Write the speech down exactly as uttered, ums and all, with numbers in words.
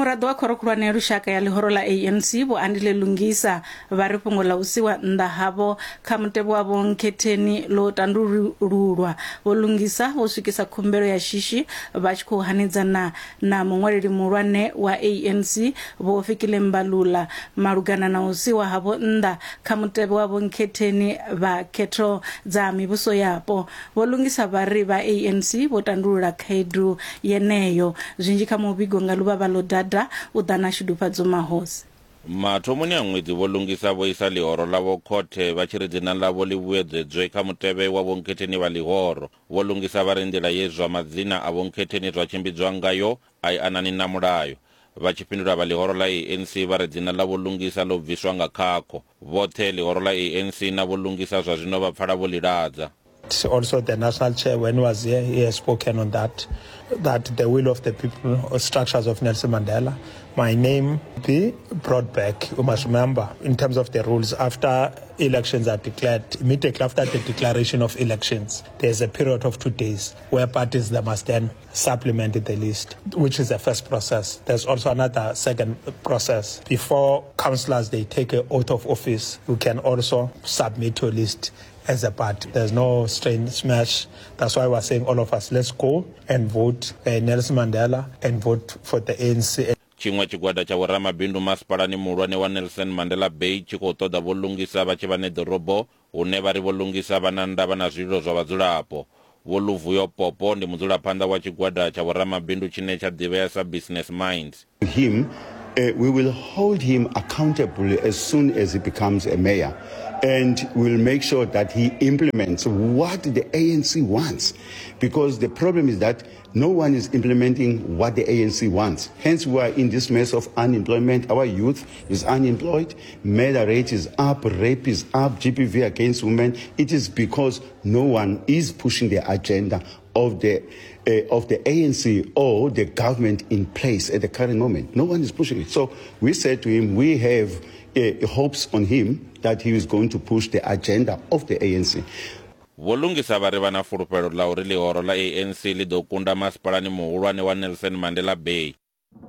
Muraḓo wa khoro khulwane ya lushaka ya ḽihoro ḽa A N C, Vho Andile Lungisa, vha ri fhungo ḽa u siwa nnḓa havho kha mutevhe wa vhonkhetheni ḽo tandululwa. Vho Lungisa vho swikisa khumbelo ya shishi vha tshi khou hanedzana na muṅwaleli muhulwane wa A N C, Vho Fikile Mbalula, malugana na u siwa havho nnḓa kha mutevhe wa vhonkhetheni vha khetho dza mivhuso yapo. Vho Lungisa vha ri vha A N C vho tandulula khaedu yeneyo. Zwinzhi kha muvhigo nga Luvhavha ḽo Dada u ḓa na Shudufhadzo Mahosi. Mathomoni a ṅwedzi, Vho Lungisa vho isa ḽihoro ḽavho khothe vha tshi ri dzina ḽavho ḽi vhuedzedzwe kha mutevhe wa vhonkhetheni vha ḽihoro. Vho Lungisa vha ri nḓila ye zwa madzina a vhonkhetheni zwa tshimbidzwa ngayo a i anani na mulayo. Vha tshi fhindula, vha ḽihoro ḽa A N C vha ri dzina ḽa Vho Lungisa ḽo bviswa nga khakho. Vhoṱhe ḽihoro ḽa A N C na Vho Lungisa zwa zwino vha pfala vho ḽiladza. Also, the national chair, when he was here, he has spoken on that, that the will of the people or structures of Nelson Mandela, my name be brought back. You must remember, in terms of the rules, after elections are declared, immediately after the declaration of elections, there's a period of two days where parties, they must then supplement the list, which is the first process. There's also another second process. Before councillors, they take an oath of office, you can also submit your list as a party. There's no strange smash. That's why we're saying all of us, let's go and vote uh, Nelson Mandela and vote for the A N C. Tshiṅwe tshigwada tsha vhoramabindu masipalani muhulwane wa Nelson Mandela Bay tshi khou ṱoḓa Vho Lungisa vha tshi vha ṋeḓorobo, hune vha ri Vho Lungisa vha na ndavha na zwililo zwa vhadzulapo. Vho Luvuyo Popo ndi mudzulaphanḓa wa tshigwada tsha vhoramabindu tshine tsha ḓivhea sa Business Minds. Him, uh, we will hold him accountable as soon as he becomes a mayor. And we'll make sure that he implements what the A N C wants. Because the problem is that no one is implementing what the A N C wants. Hence, we are in this mess of unemployment. Our youth is unemployed, murder rate is up, rape is up, G B V against women. It is because no one is pushing the agenda of the uh, of the A N C or the government in place at the current moment. No one is pushing it. So we said to him, we have uh, hopes on him that he is going to push the agenda of the A N C. Vho Lungisa vha ri vha na fulufhelo ḽa uri ḽihoro ḽa A N C ḽi ḓo kunda masipalani muhulwane wa Nelson Mandela Bay.